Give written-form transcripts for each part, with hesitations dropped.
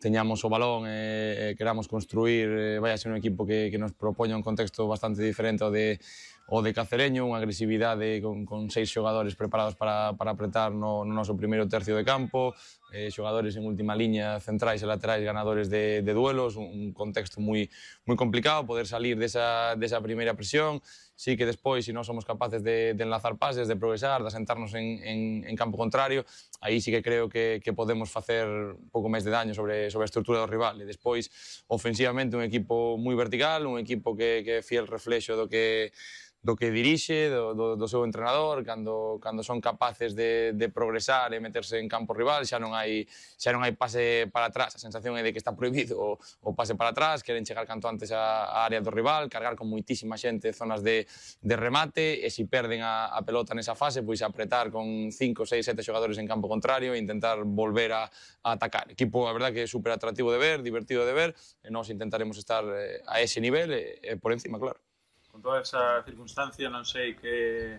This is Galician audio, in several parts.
teñamos o balón e queramos construir, vai a ser un equipo que nos propoña un contexto bastante diferente ao de Cacereño, unha agresividade con 6 xogadores preparados para apretar no noso primeiro tercio de campo, xogadores en última liña, centrais e laterais ganadores de duelos, un contexto moi complicado, poder salir desa primeira presión. Sí que despois, se non somos capaces de enlazar pases, de progresar, de asentarnos en campo contrario, aí sí que creo que podemos facer un pouco máis de daño sobre a estrutura do rival. E despois, ofensivamente, un equipo moi vertical, un equipo que é fiel reflexo do que dirixe, do seu entrenador, cando son capaces de progresar e meterse en campo rival, xa non hai pase para atrás, a sensación é de que está prohibido o pase para atrás, queren chegar canto antes á área do rival, cargar con moitísima xente zonas de remate, e se perden a pelota nesa fase, pois apretar con 5, 6, 7 xogadores en campo contrario e intentar volver a atacar. Equipo, a verdad, que é super atractivo de ver, divertido de ver, e nós intentaremos estar a ese nivel e por encima, claro. Con toda esa circunstancia, non sei que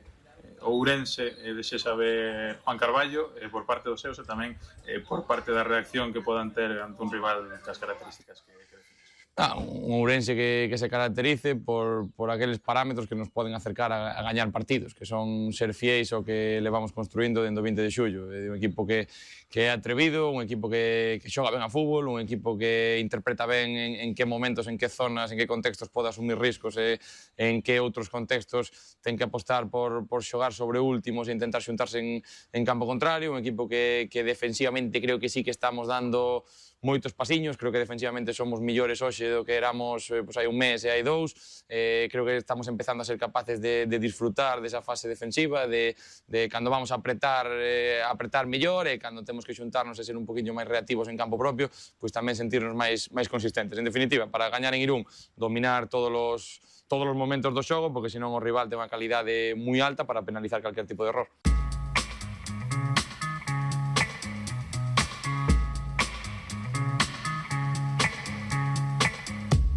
Ourense desexa ver Juan Carballo por parte dos seus e tamén por parte da reacción que podan ter ante un rival cas características que defines. Un Ourense que se caracterice por aqueles parámetros que nos poden acercar a gañar partidos, que son ser fiéis ao que levamos construindo dende o 20 de xullo. É un equipo que é atrevido, un equipo que xoga ben a fútbol, un equipo que interpreta ben en que momentos, en que zonas, en que contextos pode asumir riscos e en que outros contextos ten que apostar por xogar sobre últimos e intentar xuntarse en campo contrario, un equipo que defensivamente creo que sí que estamos dando moitos pasiños, creo que defensivamente somos millores hoxe do que éramos hai un mes e hai 2, creo que estamos empezando a ser capaces de disfrutar desa fase defensiva, de cando vamos a apretar mellor e cando temos que xuntarnos e ser un poquinho máis reactivos en campo propio, pois tamén sentirnos máis consistentes. En definitiva, para gañar en Irún, dominar todos os momentos do xogo, porque senón o rival ten unha calidade moi alta para penalizar calquer tipo de error.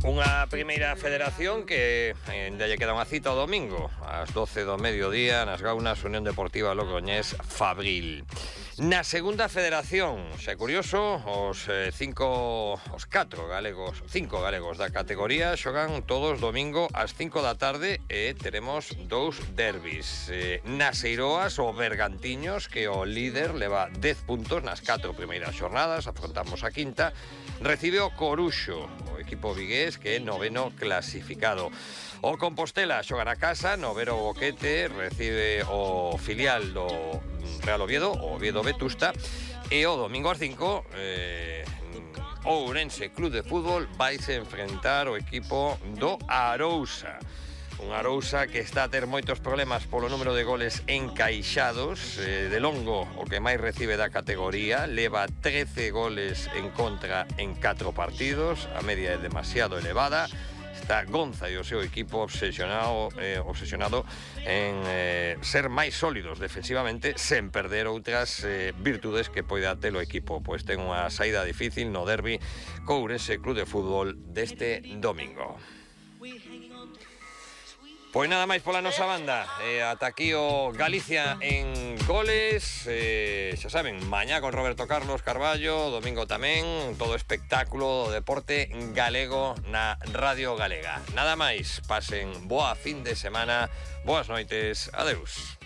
Unha primeira federación que ainda lle queda unha cita o domingo ás 12 do mediodía nas Gaunas, Unión Deportiva Logroñés Fabril. Na segunda federación, xa é curioso, os 5 galegos da categoría xogan todos domingo ás 5 da tarde e teremos 2 derbis. Nas Eiroas, o Bergantiños, que o líder leva 10 puntos nas 4 primeiras xornadas, afrontamos a quinta, recibe o Coruxo, o equipo vigués, que é noveno clasificado. O Compostela xoga na casa, novero Boquete, recibe o filial do Real Oviedo, o Oviedo Vetusta, e o domingo ás 5, o Ourense Club de Fútbol vaise enfrentar o equipo do Arousa. Un Arousa que está a ter moitos problemas polo número de goles encaixados. De longo, o que máis recibe da categoría, leva 13 goles en contra en 4 partidos, a media é demasiado elevada. Está Gonza e o seu equipo obsesionado en ser máis sólidos defensivamente sen perder outras virtudes que poida ter o equipo, pois ten unha saída difícil no derbi co Ourense Club de Fútbol deste domingo. Pois nada máis pola nosa banda, ata aquí o Galicia en goles, xa saben, mañá con Roberto Carlos Carballo, domingo tamén, todo espectáculo do deporte galego na Radio Galega. Nada máis, pasen boa fin de semana, boas noites, adeus.